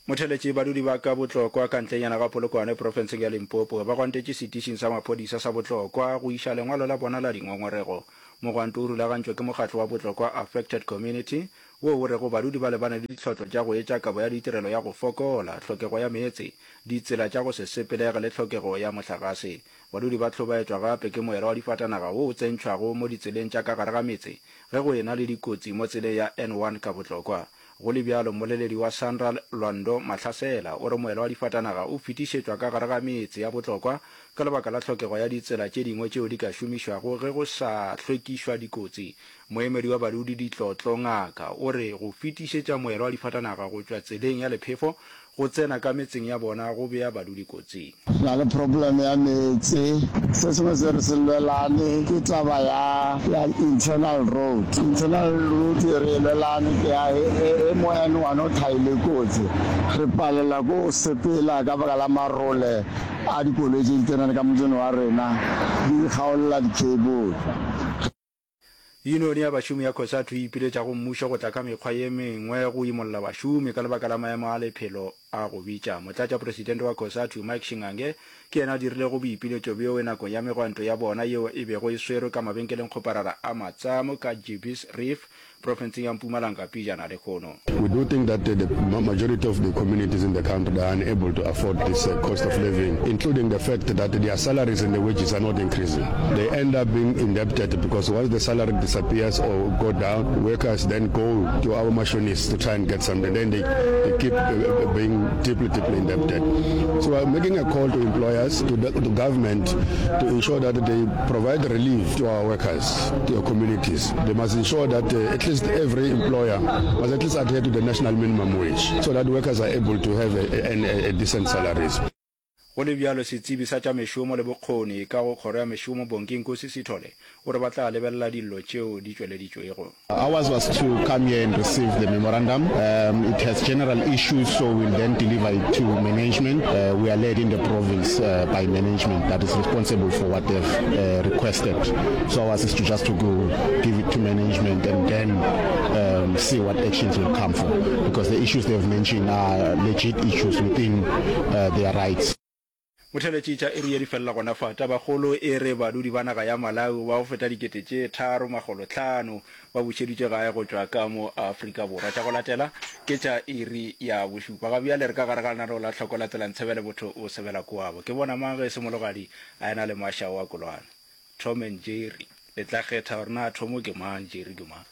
Motheletši, Badudi ba ka Botlokwa ka ntlenyana ga Polokwane profenseng ya Limpopo ba gwantetše setišing sa maphodisa sa Botlokwa go iša lengwalo la bona la dingongorego. Mogwanto o rulagantšwe ke mokgatlo wa Botlokwa Affected Community wo o rego badudi ba lebane le ditlhotlo tša go etša kabo ya ditirelo ya go fokola, tlhokego ya meetse, ditsela tša go se sepelege le tlhokego ya mohlagase. Badudi ba hlobaetšwa gape ke moela wa difatanaga wo o tsentšhwago mo ditseleng tša ka gare ga metse ge go ena le dikotsi mo tseleng ya N1 ka Botlokwa. Go le bjalo, mmoleledi wa Sanral Lwando Mahlasela o re moela wa difatanaga o fetišetšwa ka gare ga metse ya bohlokwa ka lebaka la tlhokego ya ditsela tše dingwe tšeo di ka šomišwago ge go sa hlwekišwa dikotsi. Moemedi wa badudi Ditlotlo Ngaka o re go fetišetša moela wa difatanaga go tšwa tseleng ya lephefo go tsena ka metseng ya bona go bea badudi kotsing. Re na le problem ya meetse. Se sengwe se re se lwelane ke taba ya ya internal road. Internal road e re e lwelane ke ya e mo N1 o thaile kotsi. Re palelwa ke go sepela ka baka la marole a dikoloi tše di tsenang ka motseng wa rena di kgaolla di-cable. Yunione ya bašomi ya Cosatu e ipiletša go mmušo go tla ka mekgwa ye mengwe go imolla bašomi ka lebaka la maemo a lephelo a go bitša. Motlatšapresidente wa Cosatu, Mike Shingange, ke yena a dirilego boipiletšo bjoe nakong ya megwanto ya bona yeo e bego e swerwe ka mabenkelengkgoparara a Matsamo ka Jeebies Reef, profenseng ya Mpumalanga pejana lehono. We do think that the majority of the communities in the country they are unable to afford this cost of living, including the fact that their salaries and the wages are not increasing. They end up being indebted because once the salary disappears or go down, workers then go to our machinists to try and get something. Then they, they keep being deeply, deeply indebted. So we're making a call to employers, to the to government, to ensure that they provide relief to our workers, to our communities. They must ensure that uh, at least every employer must at least adhere to the national minimum wage so that workers are able to have a, a, a decent salaries. Go le bjalo, setsebi sa tša mešomo le bokgoni ka go Kgoro ya Mešomo, Bongi Nkosi Sithole, o re ba tla lebelela dillo tšeo di tšweleditšwego. Ours was to come here and receive the memorandum. Um, it has general issues, so we'll then deliver it to management. Uh, we are led in the province uh, by management that is responsible for what they've uh, requested. So ours is to just to go give it to management and then um, see what actions will come for. Because the issues they've mentioned are legit issues within uh, their rights. Motheletši tša iri ye di felela gona fa. Tabakgolo e re badudi ba naga ya Malawi ba go feta 3500 ba bušeditšwe gae go tšwa ka mo Afrika Borwa. Tša go latela ke tša iri ya bošupa. Ga bjale re ka gare ga lenaneo la Tlhoko la Tsela Ntshebele Botho o Sebela Koabo. Ke bona mang ge e se Mologadi a ena le Mašao a Kolwane. Tom and Jerry. Le tla kgetha gore na Thomo ke mang, Jerry ke mang.